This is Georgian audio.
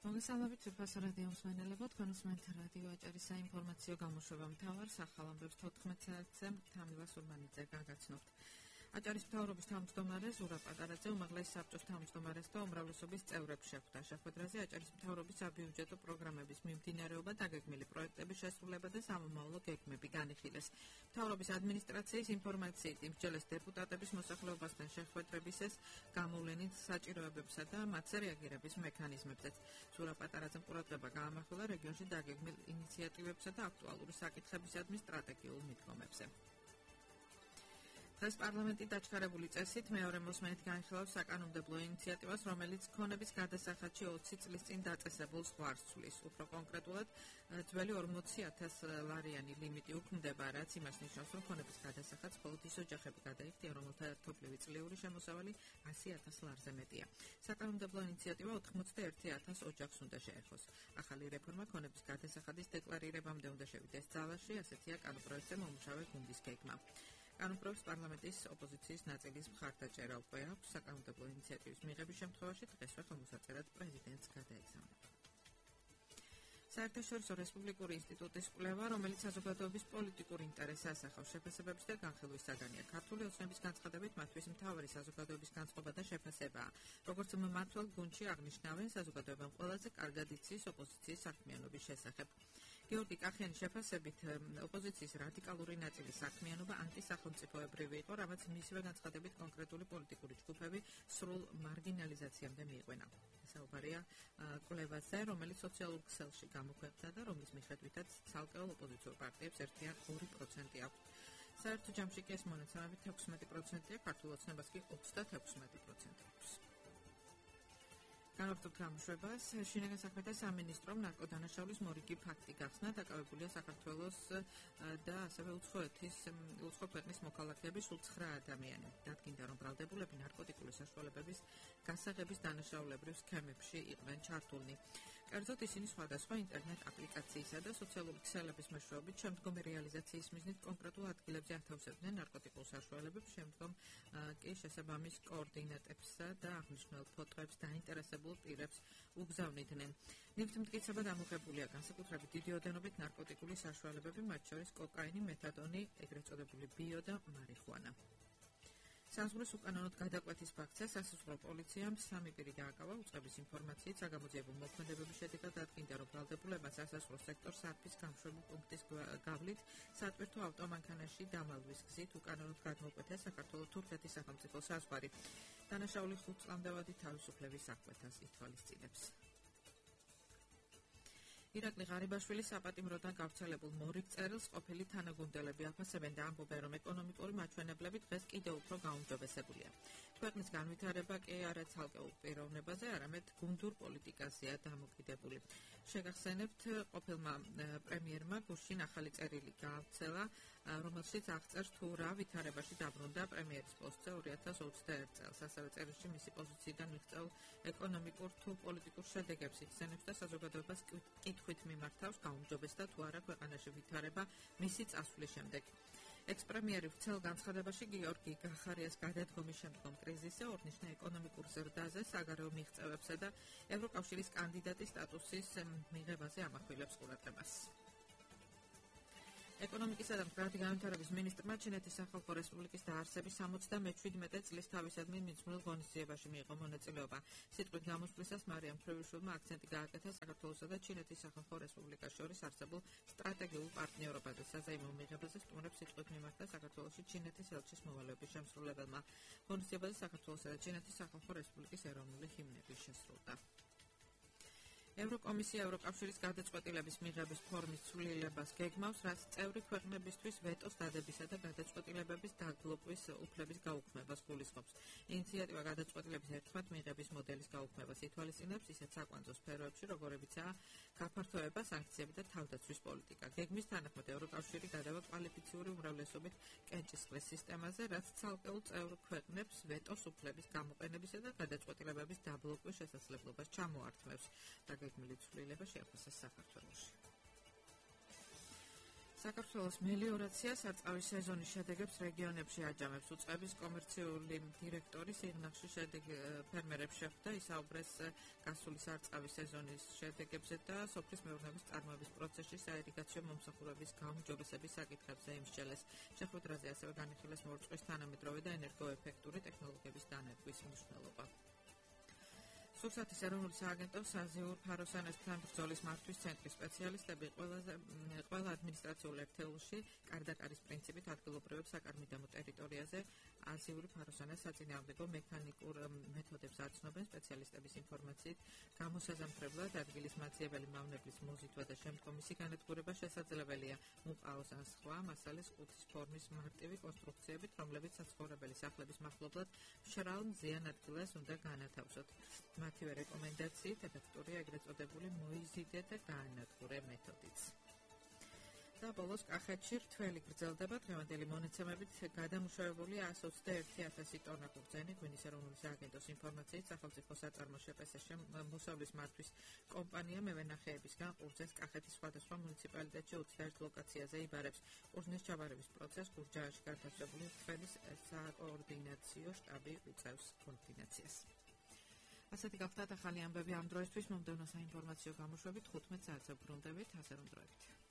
მოგესალმებით უფასო რადიო მსმენელებო, თქვენ უსმენთ რადიო აჭარის საინფორმაციო გამოშვება მთავარ სახალამბებს 14 საათზე თამილა სურმანიძე გაგაცნობთ. აჭარის მთავრობის თავმჯდომარე ზურა პატარაძე უმაღლეს საბჭოს თავმჯდომარეს და უმრავლესობის წევრებს შეხვდა. შეხვედრაზე აჭარის მთავრობის საბიუჯეტო პროგრამების მიმდინარეობა, დაგეგმილი პროექტების შესრულება და სამომავლო გეგმები განიხილეს. მთავრობის ადმინისტრაციის ინფორმაციით იმსჯელეს დეპუტატების მოსახლეობასთან შეხვედრებისას გამოვლენით საჭიროებებსა და მათზე რეაგირების მექანიზმებზეც. ზურა პატარაძემ ყურადღება გაამახვილა რეგიონში დაგეგმილ ინიციატივებსა და აქტუალური საკითხებისადმი სტრატეგიულ მიდგომებზე. დღეს პარლამენტი დაჩქარებული წესით მეორე მოსმენით განხილავს საკანონმდებლო ინიციატივას, რომელიც ქონების გადასახადში 20 წლის წინ დაწესებულ ზღვარს ცვლის. უფრო კონკრეტულად, ძველი 40,000 ლარიანი ლიმიტი უქმდება, რაც იმას ნიშნავს, რომ ქონების გადასახადს მხოლოდ ის ოჯახები გადაიხდიან, რომელთა ერთობლივი წლიური შემოსავალი 100,000 ლარზე მეტია. საკანონმდებლო ინიციატივა 81,000 ოჯახს უნდა შეეხოს. ახალი რეფორმა ქონების გადასახადის დეკლარირებამდე უნდა შევიდეს ძალაში, ასეთია კანონპროექტზე მომუშავე გუნდის გეგმა. კანონპროექტს პარლამენტის ოპოზიციის ნაწილის მხარდაჭერა უკვე აქვს. საკანონმდებლო ინიციატივის მიღების შემთხვევაში დღესვე ხელმოსაწერად პრეზიდენტს გადაეცემა. საერთაშორისო რესპუბლიკური ინსტიტუტის კვლევა, რომელიც საზოგადოების პოლიტიკურ ინტერესს ასახავს, შეფასებების და განხილვის საგანია. ქართული ოცნების განცხადებით, მათთვის მთავარი საზოგადოების განწყობა და შეფასებაა. როგორც მმართველ გუნდში აღნიშნავენ, საზოგადოებამ ყველაზე კარგად იცის ოპოზიციის საქმიანობის შესახებ. გეორგი კახიანის შეფასებით, ოპოზიციის რადიკალური ნაწილის საქმიანობა ანტისახელმწიფოებრივი იყო, რამაც მისივე განცხადებით კონკრეტული პოლიტიკური ჯგუფები სრულ მარგინალიზაციამდე მიიყვენა. საუბარია კვლევაზე, რომელიც სოციალურ ქსელში გამოქვეყნდა და რომლის მიხედვითაც ცალკეულ ოპოზიციურ პარტიებს ერთიან 2% აქვს. საერთო ჯამში კი ეს მონაცემები 16%-ია, ქართულ ოცნებას კი 36% აქვს. განვაგრძობთ გამოშვებას. შინაგან საქმეთა სამინისტრომ ნარკოდანაშაულის მორიგი ფაქტი გახსნა, დაკავებულია საქართველოს და ასევე უცხო ქვეყნის მოქალაქეების სულ 9 ადამიანი. დადგინდა, რომ ბრალდებულები ნარკოტიკული საშუალებების გასაღების დანაშაულებრივ სქემებში იყვნენ ჩართულნი. კერძოდ ისინი სხვადასხვა ინტერნეტ აპლიკაციისა და სოციალური ქსელების მეშვეობით შემდგომი რეალიზაციის მიზნით კონკრეტულ ადგილებზე ათავსებდნენ ნარკოტიკულ საშუალებებს, შემდგომ კი შესაბამის კოორდინატებსა და აღნიშნულ ფოტოებს დაინტერესებულ პირებს უგზავნიდნენ. ნივთმტკიცებად ამოღებულია განსაკუთრებით დიდი ოდენობით ნარკოტიკული საშუალებები, მათ შორის კოკაინი, მეთადონი, ეგრეთ წოდებული ბიო და მარიხუანა. საზღვრის უკანონოდ გადაკვეთის ფაქტზე სასაზღვრო პოლიციამ 3 პირი დააკავა. უწყების ინფორმაციით საგამოძიებო მოქმედებების შედეგად დადგინდა, რომ ბრალდებულებმა სასაზღვრო სექტორს არფის გამშვები პუნქტის გავლით სატვირთო ავტომანქანაში დამალვის გზით უკანონოდ გადმოკვეთა საქართველო-თურქეთის სახელმწიფო საზღვარი. დანაშაული 5 წლამდე თავისუფლების აღკვეთას ითვალისწინებს. ირაკლი ღარიბაშვილი საპატიმროდან გავრცელებულ მორიგ წერილს ყოფილი თანაგუნდელები აფასებენ და ამბობენ, რომ ეკონომიკური მაჩვენებლები დღეს კიდევ უფრო გაუმჯობესებულია. ქვეყნის განვითარება კი არა ცალკეულ პიროვნებაზე, არამედ გუნდურ პოლიტიკაზეა დამოკიდებული. შეგახსენებთ, ყოფილმა პრემიერმა გუშინ ახალი წერილი გაავრცელა, რომელშიც აღწერს თუ რა ვითარებაში დაბრუნდა პრემიერის პოსტზე 2021 წელს. ასევე წერილში მისი პოზიციიდან მიღწეულ ეკონომიკურ თუ პოლიტიკურ შედეგებს იხსენებს და საზოგადოებას კითხვით მიმართავს, გაუმჯობესდა თუ არა ქვეყანაში ვითარება მისი წასვლის შემდეგ. ექს-პრემიერი ვრცელ განცხადებაში გიორგი გახარიას გადადგომის შემდგომ კრიზისზე, ორნიშნა ეკონომიკურ ზრდაზე, საგარეო მიღწევებსა და ევროკავშირის კანდიდატის სტატუსის მიღებაზე ამახვილებს ყურადღებას. ეკონომიკისა და მდგრადი განვითარების მინისტრმა ჩინეთის სახალხო რესპუბლიკის დაარსების 77 წლის თავისადმი მიძღვნილ ღონისძიებაში მიიღო მონაწილეობა. სიტყვით გამოსვლისას მარიამ მხრევიშვილმა აქცენტი გააკეთა საქართველოსა და ჩინეთის სახალხო რესპუბლიკას შორის არსებულ სტრატეგიულ პარტნიორობაზე. საზეიმო მიღებაზე სტუმრებს სიტყვით მიმართა საქართველოში ჩინეთის ელჩის მოვალეობის შემსრულებელმა. ღონისძიებაზე საქართველოსა და ჩინეთის სახალხო რესპუბლიკის ეროვნული ჰიმნები შესრულდა. ევროკომისია ევროკავშირის გადაწყვეტილების მიღების ფორმის ცვლილებას გეგმავს, რაც წევრი ქვეყნებისთვის ვეტოს დადებისა და გადაწყვეტილებების დაბლოკვის უფლების გაუქმებას გულისხმობს. ინიციატივა გადაწყვეტილების ერთხმად მიღების მოდელის გაუქმებას ითვალისწინებს, ისეთ საკვანძო სფეროებში, როგორებიცაა გაფართოება, სანქციები და თავდაცვის პოლიტიკა. გეგმის თანახმად ევროკავშირი გადავა კვალიფიციური უმრავლესობით კენჭისყრის სისტემაზე, რაც ცალკეულ წევრ ქვეყნებს ვეტოს უფლების გამოყენებისა და გადაწყვეტილებების დაბლოკვის შესაძლებლობას ჩამოართმევს. გეგმილი ცვლილება შეაფასეს საქართველოში. საქართველოს მელიორაცია სარწყავის სეზონის შედეგებს რეგიონებში აჯამებს. უწყების კომერციული დირექტორი სიღნაღში ფერმერებს შეხვდა, ისაუბრეს გასული სარწყავის სეზონის შედეგებზე და სოფლის მეურნეობის წარმოების პროცესში საირიგაციო მომსახურების გაუმჯობესების საკითხებზე იმსჯელეს. შეხვედრაზე ასევე განიხილეს მორწყვის თანამედროვე და ენერგოეფექტური ტექნოლოგიების დანერგვის მნიშვნელობა. სურსათის ეროვნული სააგენტო საზეურ ფაროსანესთან ბრძოლის მართვის ცენტრის სპეციალისტები ყველა ადმინისტრაციულ ერთეულში კარდაკარის პრინციპით ადგილობრივებს საკარმიდამო ტერიტორიაზე აზიური ფაროსანას საწინააღმდეგო მექანიკურ მეთოდებს აცნობენ. სპეციალისტების ინფორმაციით გამოსაზამთრებლად ადგილის მაძიებელი მავნებლის მოზიდვა და შემდგომ მისი განადგურება შესაძლებელია. უყავს ან სხვა მასალის ყუთის ფორმის მარტივი კონსტრუქციებით, რომლებიც საცხოვრებელი სახლების მახლობლად მშრალ მზიან ადგილას უნდა განათავსოთ. მათივე რეკომენდაციით ეფექტურია ეგრეთ წოდებული მოიზიდე და გაანადგურე მეთოდიც. და ბოლოს კახეთში რთველი გრძელდება. დღევანდელი მონაცემებით გადამუშავებული 121,000 ტონა ყურძენი. ღვინის ეროვნული სააგენტოს ინფორმაციით სახელმწიფო საწარმო შპს მოსავლის მართვის კომპანია მევენახეებისგან ყურძენს კახეთის სხვადასხვა მუნიციპალიტეტში 21 ლოკაციაზე იბარებს. ყურძნის ჩაბარების პროცესს გურჯაანში განთავსებული რთველის საკოორდინაციო შტაბი უწევს კოორდინაციას. ასეთი გახლდათ ახალი ამბები ამ დროისთვის. მომდევნო საინფორმაციო გამოშვებით 15 საათზე ვბრუნდებით, ასე რომ დროებით.